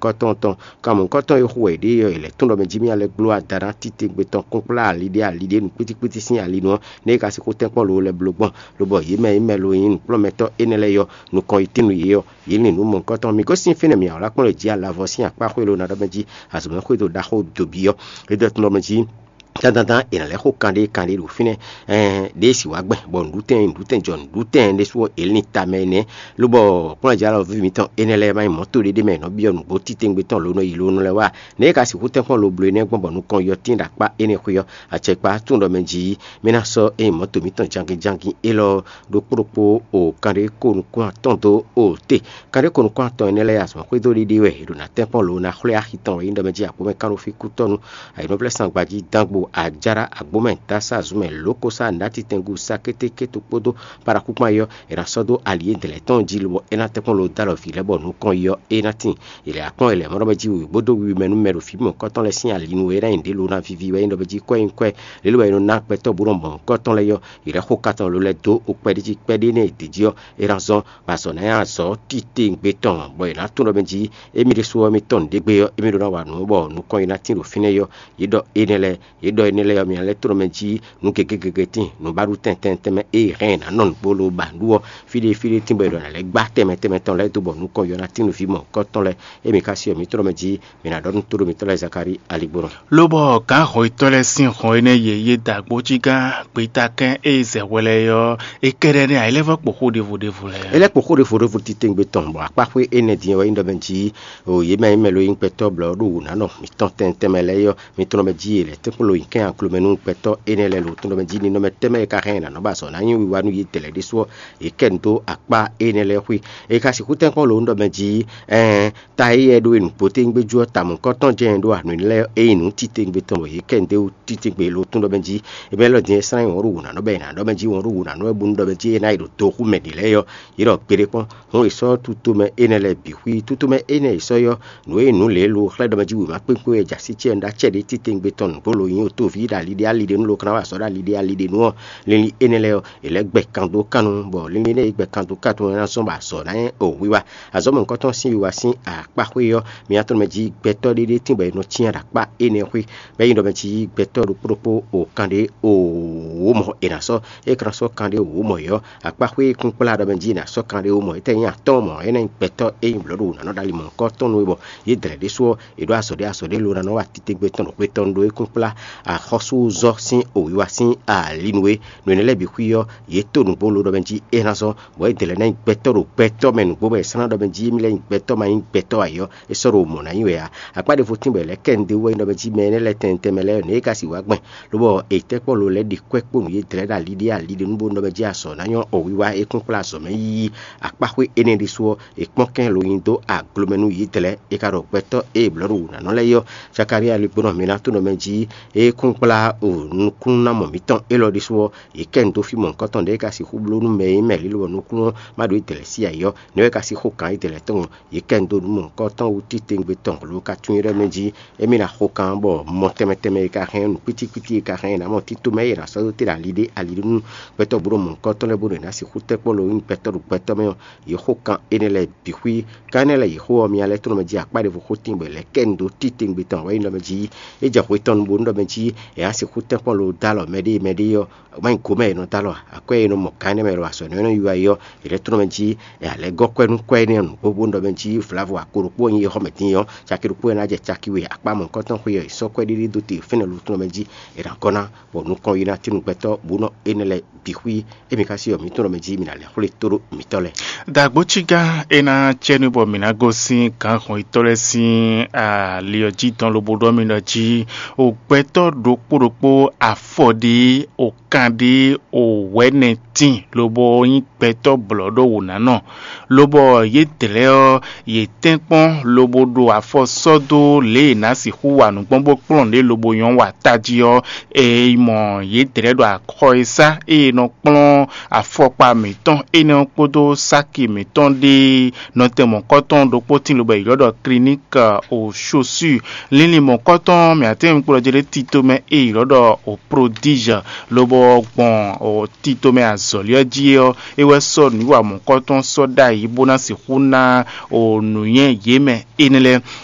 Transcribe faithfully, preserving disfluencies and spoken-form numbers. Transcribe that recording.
mɔ̌hunkɔtɔn tɔn. Kan mɔ̌hunkɔtɔn e xo wɛ yě ɖe ɔ́, è lɛ̌ tún ɖɔ mɛ jí mì alɛ gbló adana titewungbe tɔn kpúkplá ali ɖé ali ɖé nǔkpítíkpítí sín ali nu ɔ́, nɛ́ é ka sixú tɛ́nkpɔ́n lo lɛ́ bló gbɔn, lobɔ yě mɛ e mɛ lo nyí nǔkplɔ́nmɛtɔ́ énɛ́ lɛ́ɛ ɔ́, nukɔn yi tín nú yě ɔ́, yě lin nǔ mɔ̌hunkɔtɔn. Mǐ gosín fínɛ́ mǐ awlá kpɔ́n lě jí alavɔ sín akpá xwé lo ná ɖɔ mɛ jí azɔ̌mɛxwé ɖo ɖaxó dobi ɔ́, é ɖɔ tún ɖɔ mɛ jí dandandan è nǎ lɛ́ xo kanɖé kanɖé ɖo fínɛ́. Ɛɛn ɖěe sì wá gbɛn bɔ nǔɖutɛn nǔɖutɛn jɔ nǔɖutɛn ɖésú ɔ́, è lin tamɛ nɛ́. Lobɔ kplɔ́njǎlɔví mitɔn énɛ́ lɛ́ɛ ma nyí mɔ̌ to ɖé ɖé mɛ è nɔ byɔ́ nǔgbó titewungbe tɔn lo nɔ yi lo nɔ lɛ́ wá. Nɛ̌ é ka sixú tɛ́nkpɔ́n lo bló énɛ́ gbɔn bɔ nukɔn yɔ tín ɖo akpá énɛ́ xwé ɔ́, acɛkpa tún ɖɔ mɛ jí mɛ ná sɔ́ ényí mɔ̌ to mǐtɔn jangin jangin élɔ́ ɖokpó ɖokpó o kanɖé ko nukún atɔn dó o te. Kanɖé ko nukún atɔn énɛ́ lɛ́ɛ azɔ̌ xwedó ɖiɖi wɛ è ɖo ná tɛ́nkpɔ́n lo ná xwlé axi tɔn wɛ nyí ɖɔ mɛ jí agbó mɛ kán ɖo fí kútɔ́nu. Ayǐnɔ́vlɛ́ sangbají dán gbo ajára agbó mɛ dásá zun mɛ lǒkosá nǎtitɛngu sá kétékéto kpódó paɖakú kpán yɔ è nǎ sɔ́ dó ali e dlɛ̌ tɔn jí lobɔ é ná tɛ́nkpɔ́n lo dó alɔ vǐ lɛ́ɛ bɔ nukɔn yɔ é ná tíin. È lɛ̌ akpɔ́n è lɛ̌ mɔ ɖɔ mɛ jí wěwé bó dó wiwi mɛ nú mɛ ɖo fí mɔ̌hunkɔtɔn lɛ́ɛ sín ali nu e é ná nyí ɖě lo ná víví wɛ nyí ɖɔ mɛ jí kwɛ́ nyí kwɛ́ lě lo wɛ è nɔ ná gbɛtɔ́ bó nɔ mɔ̌hunkɔtɔn lɛ́ɛ yɔ. È lɛ̌ xo katɔn lo lɛ́ɛ dó okpɛɖéjí kpɛɖé nɛ́ è ɖě jí ɔ́, é ná zɔ́n bɔ azɔ̌ ná nyí azɔ̌ titewungbe tɔn bɔ è nǎ tunwun ɖɔ mɛ jí émí ɖésú ɔ́, émí tɔn nǔɖé gbe ɔ́, émí ɖó ná wa nǔ bɔ nukɔn e ná tín ɖo fínɛ́ ɔ́, yě ɖɔ énɛ́ lɛ́ɛ yě ɖɔ énɛ́ lɛ́ɛ ɔ́, mi ná lɛ́ tlɔ́ mɛ jí nǔ gěgé gěgé tíin, nǔ ba ɖu tɛntɛn tɛnmɛ e hɛn ná nɔ nǔgbó lo ba nǔ ɔ́, fí ɖé fí ɖé tín bɔ è ɖɔ nǎ lɛ́ gbá tɛnmɛ tɛnmɛ tɔn lɛ́ɛ dó bɔ nukɔn yɔ ná tín nú vǐ mɔ̌hunkɔtɔn lɛ́ɛ. Émí ka si ɔ́, mi tlɔ́ mɛ jí mi ná ɖɔ nú tóɖó mitɔ́ lɛ́ɛ Zakalíi aligbónɔ. Lobɔ gǎn hɔnnyitɔ́ lɛ́ɛ sín hɔn énɛ́ yě yí da gbó cí gán gbeta kɛn e zɛ hwɛ lɛ́ɛ ɔ́, è kɛ ɖɛ nɛ́ ayilɛ́vɔ́ kpo xó ɖěvo ɖěvo lɛ́ɛ. É lɛ́ kpo xó ɖěvo ɖěvo titewungbe tɔn, bɔ akpá xwé énɛ́ din ɔ́ wɛ nyí ɖɔ mɛ jí o yě mɛ e mɛ lo nyí gbɛtɔ́ blɔ̌ ɖo wǔ ná nɔ mǐtɔn tɛnmɛ tɛnmɛ lɛ́ɛ ɔ́, mi tlɔ́ mɛ jí yě lɛ́ tɛ́nkpɔ́n lo nyi kɛ́n aglo mɛ nú gbɛtɔ́ énɛ́ lɛ́ɛ lo tɔn ɖɔ mɛ jí ninɔmɛ tɛnmɛ e ka hɛn ná nɔ ba azɔ̌ ná nyi wiwa nú yě dlɛ̌ ɖésú ɔ́, yě kɛ nu dó akpá énɛ́ lɛ́ɛ xwé. É ka sixú tɛ́nkpɔ́n lo nú ɖɔ mɛ jí, ɛɛn ta e yɛ ɖó e nǔgbó tégbé jú ɔ́, tamɔ̌kɔ́tɔn jɛ́n ɖó anu lɛ́ɛ é nyí nǔ titewungbe tɔn bɔ yě kɛ nu dó titewungbe lo tún ɖɔ mɛ jí. È mɛ lɔ din e slán nyí wɔ̌n ɖo wǔ ná nɔ bɔ è nǎ ɖɔ mɛ jí wɔ̌n ɖo wǔ ná nɔ wɛ bónú ɖɔ mɛ jí é ná yi ɖo toxú mɛ ɖě lɛ́ɛ ɔ́, yě ɖɔ gbeɖé kpɔ́n. Hǔn è sɔ́ tutomɛ énɛ́ lɛ́ɛ bǐ xwí. Tutomɛ énɛ́ è sɔ́ yɔ́, nǔ e nǔ lě lo xlɛ́ ɖɔ mɛ jí wěma kpékpé wɛ jǎ sí cɛ́ ɖó acɛ ɖě titewungbe tɔn nǔgbó lo nyí otóví ɖo ali ɖé ali ɖé nú lo kan ná wa azɔ̌ ɖo ali ɖé ali ɖé nú ɔ́, linlin énɛ́ lɛ́ɛ ɔ́, è lɛ́ gbɛ kan dó kan nu, bɔ linlin énɛ́ e gbɛ kan dó kan tɔn ɔ́ ná zɔ́n bɔ azɔ̌ ná nyí o wiwa. Azɔ̌ mɔ̌hunkɔtɔn sín wiwa sín akpá xwé ɔ́, mi ná tɔ́n mɛ jí gbɛtɔ́ ɖé ɖé tín bɔ è nɔ cyán ɖo akpá énɛ́ xwé. Bɔ é nyí ɖɔ mɛ jí gbɛtɔ́ ɖokpó ɖokpó o kanɖé o wǒ mɔ è nǎ sɔ́, é ka ná sɔ́ kanɖé o wǒ mɔ yɔ́. Akpá xwé e kún kplá ɖɔ mɛ jí è nǎ sɔ́ kanɖé o mɔ, étɛ́ nyí atɔ́ɔ́n mɔ, énɛ́ nyí gbɛtɔ́ e nyí blɔ̌ ɖo wǔ ná nɔ ɖo ali mɔ̌hunkɔtɔn nú é bɔ yě dlɛ̌ ɖésú ɔ́, è ɖó azɔ̌ ɖé azɔ̌ ɖé lo ná nɔ wa titewungbe tɔn ɖo xwé tɔn ɖó é kún kplá axɔ́súzɔ́ sín o wiwa sín ali nú é. Nǔ énɛ́ lɛ́ɛ bǐ xwí ɔ́, yě to nǔgbó lo ɖɔ mɛ jí é ná zɔ́n, bɔ é dlɛ̌ ná nyí gbɛtɔ́ ɖo gbɛtɔ́ mɛ nǔgbó mɛ è slán ɖɔ mɛ jí émí lɛ́ nyí gbɛtɔ́ ma nyí gbɛtɔ́ ǎ é ɔ́, é sɔ́ ɖo mɔ̌ ná nyí wɛ ǎ. Akpá ɖěvo tín bɔ è lɛ́ kɛ nu dó wɛ nyí ɖɔ mɛ jí mɛ énɛ́ lɛ́ɛ tɛnmɛ tɛnmɛ lɛ́ɛ ɔ́, nǔ e ka sixú wá gbɛn, lobɔ è tɛ́ kpɔ́n lo lɛ́ ɖi kwɛ́ kpó nǔ yě dlɛ̌ ɖo ali ɖé ali ɖé nú bónú ɖɔ mɛ jí azɔ̌ ná nyɔ́ o wiwa é kún kplá azɔ̌ mɛ yíyí. Akpá xwé énɛ́ ɖésú ɔ́, è kpɔ́n kɛ́n lo nyi dó aglo mɛ nú yě dlɛ̌, è ka ɖɔ gbɛtɔ́ e è blɔ̌ ɖo wǔ ná nɔ lɛ́ɛ é ɔ́, Zakalíi aligbónɔ mi ná tunɔ mɛ jí é kún kplá o nukúnnú ná mɔ mǐtɔn élɔ́ ɖésú ɔ́, yě kɛ nu dó fí mɔ̌hunkɔtɔn ɖě é ka sixú bló nú mɛ e nyí mɛ lǐlɔ bɔ nukúnnú ma ɖo é dlɛ̌ sí ǎ é ɔ́, nɛ̌ wɛ é ka sixú gǎn é dlɛ̌ tɔn ɔ́, yě kɛ nu dó nǔ mɔ̌hunkɔtɔn wú titewungbe tɔn lo ka tunwun é ɖɔ mɛ jí émí ná xo kan bɔ mɔ tɛnmɛ tɛnmɛ e ka hɛn nǔ kpítíkpítí e ka hɛn ná mɔ tito mɛ é ná sɔ́ dó te ɖo ali ɖé ali ɖé nú gbɛtɔ́ bó ɖo mɔ̌hunkɔtɔn lɛ́ɛ bó ɖo è nǎ sixú tɛ́ kpɔ́n lo nyí gbɛtɔ́ ɖo gbɛtɔ́ mɛ ɔ́, yě xo kan énɛ́ lɛ́ɛ bǐ xwí. Kan énɛ́ lɛ́ɛ yě xo ɔ́, mi ná lɛ́ tlɔ́n mɛ jí akpá ɖěvo xó tín bɔ è lɛ́ kɛ nu dó titewungbe tɔn wɛ nyí ɖɔ mɛ jí é jɛ hwe tɔn nu bónú ɖɔ mɛ jí è nǎ sixú tɛ́ kpɔ́n lo dó alɔ mɛɖée mɛɖée ɔ́, má nyí gǒ mɛ è nɔ dó alɔ ǎ. Akwɛ́ e è nɔ mɔ gǎn énɛ́ mɛ ɖo azɔ̌ énɛ́ e nɔ yi wá é ɔ́, è lɛ́ tlɔ́n mɛ jí è nǎ lɛ́ gɔ́ kwɛ́ nú kwɛ́ énɛ́ ɔ́ nǔgbó bónú ɖɔ mɛ jí vlavo ako ɖokpó ɔ́ nyí é xɔ mɛ dín ɔ́, caki ɖokpó e ná jɛ caki we akpá mɔ̌hunkɔtɔn xwé ɔ́, è sɔ́ kwɛ́ ɖiɖi dó te fɛ́nɛ lo tlɔ́n mɛ jí è nǎ gɔ́ ná, bɔ nukɔn yi ná tín nú gbɛtɔ́ bó nɔ énɛ́ lɛ́ɛ bǐ xwí. Émí ka sí ɔ́, mǐ tunwun ɖɔ mɛ jí mǐ ná lɛ́ xwlé tóɖó mǐtɔn lɛ́ɛ. Dǎgbócígán é ná cɛ nú bɔ mǐ ná gosín gǎnhɔnyitɔ́ lɛ́ɛ sín ali ɔ́ jí dɔn lobo ɖɔ mì ɖɔ jí o gbɛtɔ́ ɖokpó ɖokpó afɔ ɖé o kan ɖé o wɛ̌nɛ tíin lobo nyí gbɛtɔ́ blɔ̌ ɖó wǒ ná nɔ, lobɔ yě dlɛ́ ɔ́, yě tɛ́nkpɔ́n lobo ɖo afɔ sɔ́ dó lě e è nǎ sixú wa nǔ gbɔn bó kplɔ́n lě lobo nyɔ́ wa tají ɔ́, è yi mɔ yě dlɛ́ ɖo axɔ e sá ée è nɔ kplɔ́n afɔkpa mǐtɔn énɛ́ ɔ́ kpódó sáki mǐtɔn ɖé nɔtɛn mɔ̌kɔtɔn ɖokpó tín lobo è ylɔ́ ɖɔ Clinique aux chaussures. Linlin mɔ̌kɔtɔn mǐ atɛ́nwú kplɔ́ jɛ ɖé tito mɛ e è ylɔ́ ɖɔ o Prodige, lobo gbɔn o tito mɛ azɔ̌li ɔ́ jí ɔ́, é wɛ sɔ́ nǔwiwa mɔ̌kɔtɔn sɔ́ ɖ'ayǐ bó ná sixú ná o nǔnywɛ́ yě mɛ énɛ́ lɛ́ɛ.